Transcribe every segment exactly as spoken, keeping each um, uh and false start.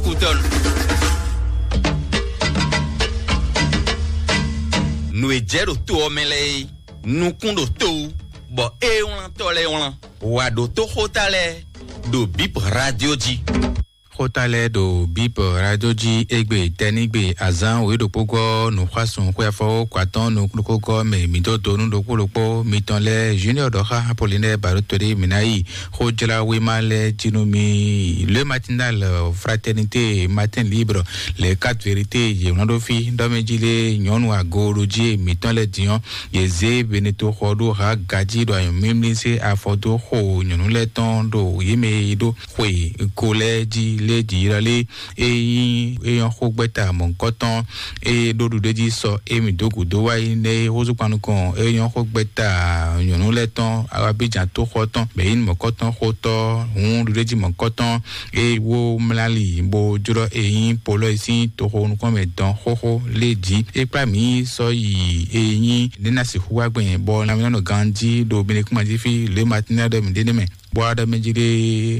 Kútɔnù. Nǔ e jɛ ɖo to ɔ́ mɛ lɛ́ɛ é, nukún ɖo to wú, bɔ é wlán tɔ́ lɛ́ɛ wlán. Wà ɖo tó xóta lɛ́ɛ ɖo Bip Radio jí. Xóta lɛ́ɛ ɖo Bip Radio jí égbé tɛ́nígbe azǎn wěɖokpógɔ́ nǔxwásún xwéafɔwó kwatɔ́n nukúnɖokpógɔ́ mɛ mǐ dó do nú ɖokpó ɖokpó mitɔn lɛ́ɛ Junior ɖɔ xá Apollinaire Baɖó Toɖé mǐ ná yi xójláwéma lɛ́ɛ jí nú mì. Le Matinal, Fraternité, Matin Libre, Les Quatre Vérités, yě wlán ɖó fí ɖɔ mɛ jí lé nyɔ̌nu agoɖojí mǐtɔn lɛ́ɛ din ɔ́, yě zé Beneto xɔ ɖó ha gají ɖo anyɔ̌mímlí sí afɔ dó xo nyɔ̌nu lɛ́ɛ tɔn ɖo yě mɛ e ɖó xwe ko lɛ́ɛ jí lé jǐ lɔ lé. E nyí é nyɔ́ xó gbɛ́ta mɔ̌hunkɔtɔn, eye ɖó ɖuɖéjí sɔ émí dó gǔdo wá yi nɛ́ é húzú kpan nukɔn é nyɔ́ xó gbɛ́ta nyɔ̌nu lɛ́ɛ tɔn Abidjan tóxɔ tɔn bɛ̌ nyí mɔ̌kɔtɔn xótɔ́ hǔn ɖuɖéjí mɔ̌kɔtɔn, eye wó mlá li bó jlɔ́ e nyí polɔ́ e sín toxo nukɔn mɛ dɔn xóxó lé jí. É kplá mǐ sɔ́ yi e nyí nɛ́ ná sixú wá gbɛn bɔ lanmɛnánɔ ganjí ɖo Benekúmají fí lě Matinɛ ɖɔ mǐ ɖe nɛ́ mɛ. Bɔ aɖɔmɛjlé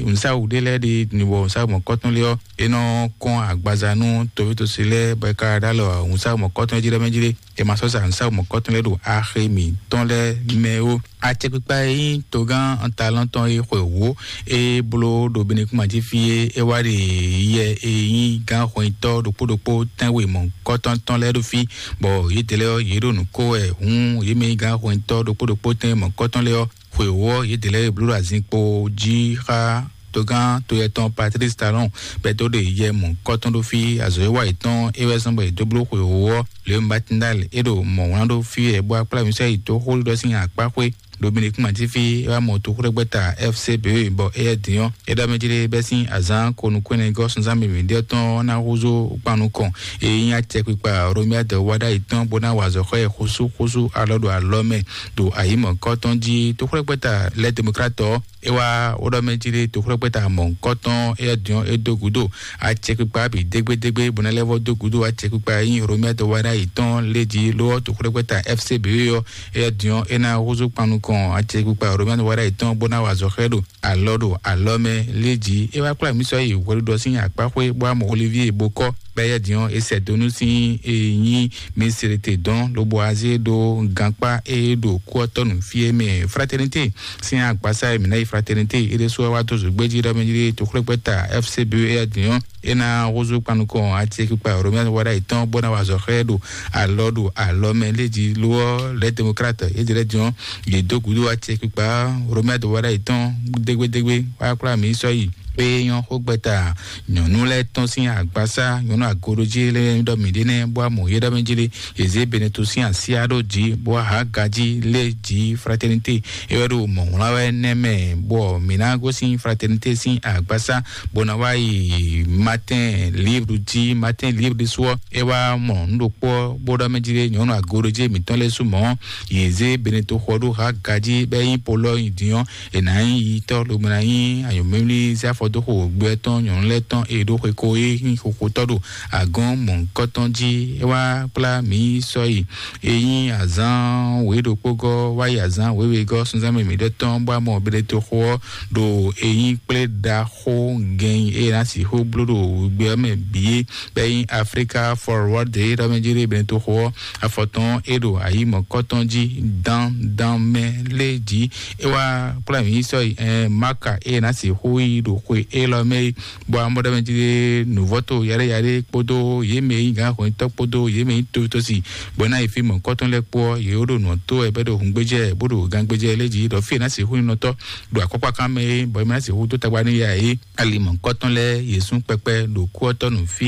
nǔsáwǔ ɖé lɛ́ɛ ɖe nǔbɔ nǔsáwǔ mɔ̌kɔtɔn lé ɔ́, é nɔ kɔn agbaza nú toví-tosi lɛ́ɛ bɔ é ka ɖó alɔ nǔsáwǔ mɔ̌kɔtɔn jí ɖɔmɛjlé. È ma sɔ́ sa nǔsáwǔ mɔ̌kɔtɔn lɛ́ɛ ɖo axi mǐtɔn lɛ́ɛ mɛ ó. Acɛkpikpa e nyí togán Antalɔ́ntɔn e xwe wǒ e bló ɖo Benekúmají fí é, é wá ɖe yɛ e nyí gán hwɛnyitɔ́ ɖokpó ɖokpó tɛ́nwe mɔ̌kɔtɔn tɔn lɛ́ɛ ɖo fí, bɔ yědɛɛ lɛ́ɛ ɔ́, yě ɖo nǔ kó wɛ hǔn yě mɛ nyí gán hwɛnyitɔ́ ɖokpó ɖokpó tɛ́nwe mɔ̌kɔtɔn lɛ́ɛ ɔ́, xwe wǒ ɔ́, yě ɖě lɛ́ɛ e bló ɖo azinkpo jí xá togán to yɛtɔn Patrice Talon bɛ́ dó ɖe yɛ mɔ̌kɔtɔn ɖó fí azɔ̌ e wa yětɔn é wɛ zɔ́n bɔ yě dó bló xwe wǒ ɔ́, Le Matinal é ɖo mɔ̌ wlán ɖó fí wɛ bó akplá mǐ sɔ́ yi dó xóɖiɖɔ sín akpá xwé. Dominique Matifi é wá mɔ toxúɖɛgbɛ́ta F C B bɔ éyɛ́ din ɔ́, é ɖɔ mɛ jí ɖé bɛ́ sín azǎn ko nukúnnɛgɔ́ sunzán mǐmí ɖé tɔn ɔ́ ná húzú kpan nukɔn. É nyí acɛkpikpa Romuald Wadagni tɔn bó ná wa azɔ̌ xɔ ɛ xúsúxúsú alɔ ɖo alɔ mɛ ɖo ayǐmɔ̌kɔ tɔn jí. Toxúɖɛgbɛ́ta Les Démocrates ɔ́, é wá wó ɖɔ mɛ jí ɖé toxúɖɛgbɛ́ta mɔ̌hunkɔtɔn éyɛ́ din ɔ́, é dó gǔdo acɛkpikpa bǐ dégbédégbé bó ná lɛ́ vɔ́ dó gúdo acɛkpikpa e nyí Romuald Wadagni tɔn lé jí. Ló ɔ́, toxúɖɛgbɛ́ta F C B ɔ́, éyɛ́ din ɔ́, é ná húzú kpan nukɔn acɛkpikpa Romuald Wadagni tɔn bó ná wa azɔ̌ xá ɛ ɖo alɔ ɖo alɔ mɛ lé jí. É wá kplá mǐ sɔ́ yi hwɛɖuɖɔ sín akpáxwé bó wá mɔ Olivier Bokɔ bɛ́ yɛ́ din ɔ́, é sɛ dó nú sín e nyí Mislete dɔn lobo azé ɖó gankpá e ɖo kú ɔ́ tɔ́ nú fí e mɛ Fraternité sín agbasa e mǐ ná yi Fraternité é ɖésú wá dó zǒgbé jí ɖɔ mɛ jí toxúɖɛgbɛ́ta F C B éyɛ́ din ɔ́, é ná húzú kpan nukɔn acɛkpikpa Romuald Wadagni tɔn bó ná wa azɔ̌ xá ɛ ɖo alɔ ɖo alɔ mɛ lé jí. Ló ɔ́, Les Démocrates é jlɛ́ din ɔ́, yě dó gúdo acɛkpikpa Romuald Wadagni tɔn dégbédégbé wá kplá mǐ sɔ́ yi. Pé nyɔ́ xógbɛ́ta nyɔ̌nu lɛ́ɛ tɔn sín agbasá nyɔ̌nu agoɖojí lɛ́ɛ ɖɔ mǐ ɖe nɛ́ bó wá mɔ yé ɖɔ mɛ jí lé. Yě zé Beneto sín asíá ɖó jǐ bó wá hǎ gají lé jǐ Fraternité. É wɛ ɖo mɔ̌ wlán wɛ nɛ́ mɛ bɔ mǐ ná gosín Fraternité sín agbasá bó ná wá yi Matin Libre jí. Matin Libre ɖésú ɔ́, é wá mɔ nǔ ɖokpó ɔ́ bó ɖɔ mɛ jí lé nyɔ̌nu agoɖojí mǐtɔn lɛ́ɛ sú mɔ̌. Yě zé Beneto xɔ ɖó hǎ gají bɛ́ nyí polɔ́ nyi din ɔ́, è nǎ nyí yitɔ́ lobo ná nyí anyɔ̌mɛmlí zé afɔ dó xo gbɛ tɔn nyɔ̌nu lɛ́ɛ tɔn e ɖó xwe ko e nyí xoxotɔ́ ɖo agɔ̌n mɔ̌hunkɔtɔn jí. É wá kplá mǐ sɔ́ yi e nyí azǎn wěɖokpógɔ́ wá yi azǎn wěwegɔ́ sunzán mɛ mǐɖɔtɔn bó wá mɔ Beneto xo ɔ́ ɖo e nyí kplé ɖaxó gɛn e ná sixú bló ɖo gbɛ ɔ́ mɛ bǐ é bɛ́ nyí Africa Forward ɖé ɖɔ mɛ jí ɖé Beneto xo ɔ́, afɔtɔn é ɖo ayǐ mɔ̌kɔtɔn jí dán dán mɛ lé jí. É wá kplá mǐ sɔ́ yi ɛn Maka e ná sixú yi ɖo xwe élɔ́ mɛ é, bɔ amɔ́ ɖɔ mɛ jí ɖé nǔvɔ́to yaɖé yaɖé kpódó yě mɛ e nyí gǎn hwɛntɔ́ kpódó yě mɛ e nyí totosi bɔ é ná yi fí mɔ̌kɔtɔn lɛ́ɛ kpó ɔ́, yě ɖo nǔ ɔ́ tó wɛ bɔ é ɖo hǔngbéjɛ bó ɖo gangbéjɛ lé jí ɖɔ fí e ná sixú nyí nɔtɔ́ ɖo akɔkpákán mɛ é, bɔ é má sixú dó tagba nú ya é. Ali mɔ̌kɔtɔn lɛ́ɛ yě sú kpɛkpɛ ɖo kú ɔ́ tɔ́ nú fí